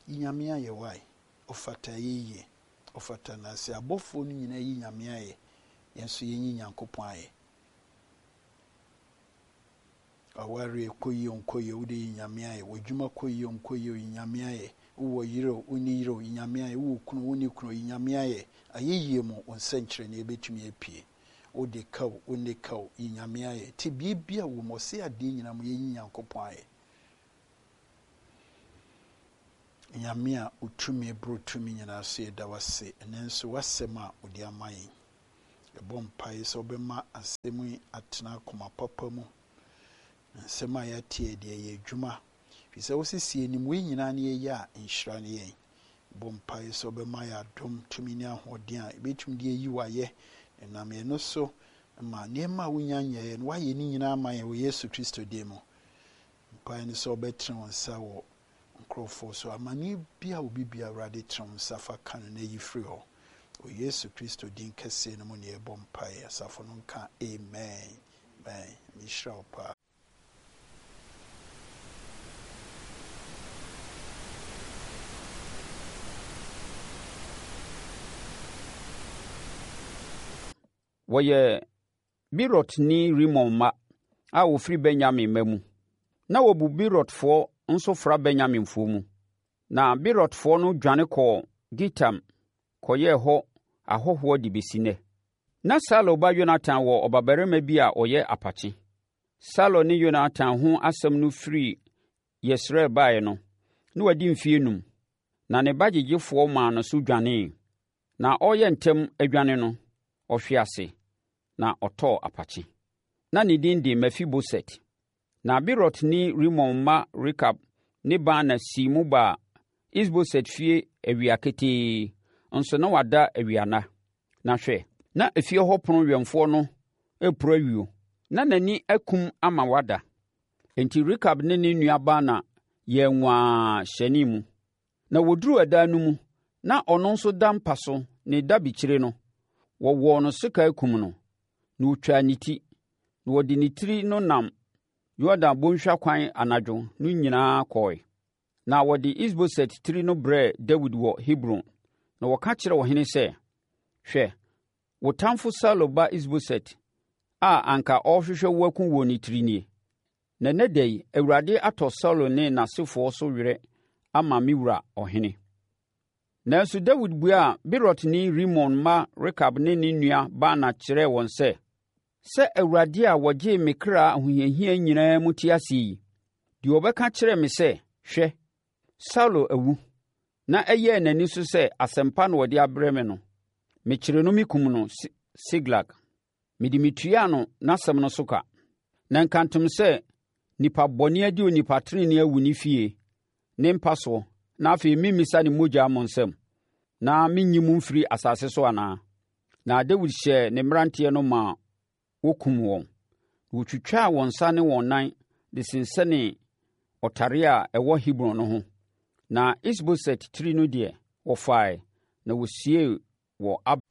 Yi Nyame ayɛ wai, ɔfata ayɛyie, ɔfata na sɛ abɔfoɔ no nyinaa yi Nyame ayɛ, yɛn nso yɛnyi Nyankopɔn ayɛ. W'awareɛ kɔ yie o nkɔ yie o, wode yi Nyame ayɛ. W'adwuma kɔ yie o nkɔ yie o, yi Nyame ayɛ. Wowɔ yere o, wonni yere o, yi Nyame ayɛ. Wowɔ kunu o, wonni kunu o, yi Nyame ayɛ. Ayɛyie mu, wo nsɛnkyerɛnneɛ bɛtumi apue. Wode ka o, wonni ka o, yi Nyame ayɛ. Tebea biara wɔ mu, ɔse adeɛ nyinaa mu yɛnyi Nyankopɔn ayɛ. Nyame a wotumi boro tumi nyinaa so, yɛda wo ase ɛnɛ nso w'asɛm a wode ama yɛn. Yɛbɔ mpaeɛ sɛ wobɛma asɛm yi atena akoma papa mu. Nsɛm a yɛate yɛ deɛ ɛyɛ adwuma. Firi sɛ wosisi anim wei nyinaa ne yɛyɛ a nhyira ne yɛn. Bɔ mpaeɛ sɛ wobɛma yɛ adom tumi ne ahoɔden a yɛbɛtumi de ayi w'ayɛ. Ɛnam yɛn no so ma nneɛma a wonya nyɛeɛ no woayɛ ne nyinaa ama yɛn wɔ Yesu Kristo din mu. Mpaeɛ ne sɛ wobɛtene wo nsa wɔ nkurɔfoɔ so. Amanneɛ bi a obi bia Awurade tene wo nsa fa ka no na yi firi hɔ. Wɔ Yesu Kristo din kɛseɛ no mu ne yɛbɔ mpaeɛ. Asafo no nka amen. Amen. Mehyira wo paa. Wɔyɛ Beerotni Rimon mma a wɔfiri Benyamin mma mu. Na wɔbu Beerotfoɔ nso fra Benyaminfoɔ mu. Na Beerotfoɔ no dwane kɔɔ Gitaim kɔyɛɛ hɔ ahɔhoɔ de bɛsi nnɛ. Na Saulo ba Yonatan wɔ ɔbabarima bi a ɔyɛ apakye. Saulo ne Yonatan ho asɛm no firi Yesreel baeɛ no, na wadi mfeɛ enum, na ne ba gyegyefoɔ maa no so dwanee. Na ɔreyɛ ntɛm adwane no, ɔhwee ase na ɔtɔɔ apakye. Na ne din de Mefiboset. Na Beerotni Rimon mma Rekab ne Baana sii mu baa Isboset fie awia ketee, nso na wada awianna. Na hwɛ, na efie hɔ pono wɛmfoɔ no reporo ayuo, na n'ani akum ama wada. Enti Rekab ne ne nua Baana yɛɛ nwaa hyɛnee mu. Na wɔduruu ɛdan no mu, na ɔno nso da mpa so ne dabekyire no, wɔwɔɔ no sekan kum no, na wɔtwaa ne ti, na wɔde ne tiri no nam Yordan bɔnhwa kwan anadwo no nyinaa kɔe. Na wɔde Isboset tiri no brɛɛ Dawid wɔ Hebron, na wɔka kyerɛɛ ɔhene sɛ, “Hwɛ, wo tamfo Saulo ba Isboset a anka ɔrehwehwɛ wo akum wo no tiri nie. Na ɛnnɛ da yi, Awurade atɔ Saulo ne n'asefoɔ so werɛ ama me wura ɔhene.” Nanso Dawid buaa Beerotni Rimon mma Rekab ne ne nua Baana kyerɛɛ wɔn sɛ, “Sɛ Awurade a ɔgyee me kra ahohiahia nyinaa mu te ase yi, deɛ ɔbɛka kyerɛɛ me sɛ, ‘Hwɛ, Saulo awu,’ na ɛyɛɛ n'ani so sɛ asɛm pa na ɔde abrɛ me no, mekyeree no mekum no Siklag. Mede metuaa no n'asɛm no so ka. Na nkantom sɛ nnipa bɔne adi onipa tenenee awu ne fie, ne mpa soɔ, na afei meremmisa ne mogya mo nsam, na mennyi mo mfiri asase so anaa?” Na Dawid hyɛɛ ne mmeranteɛ no maa wɔkumm wɔn. Na wɔtwitwaa wɔn nsa ne wɔn nan de sensɛnee ɔtare a ɛwɔ Hebron no ho. Na Isboset tiri no deɛ, wɔfaeɛ, na wɔsiee wɔ Abner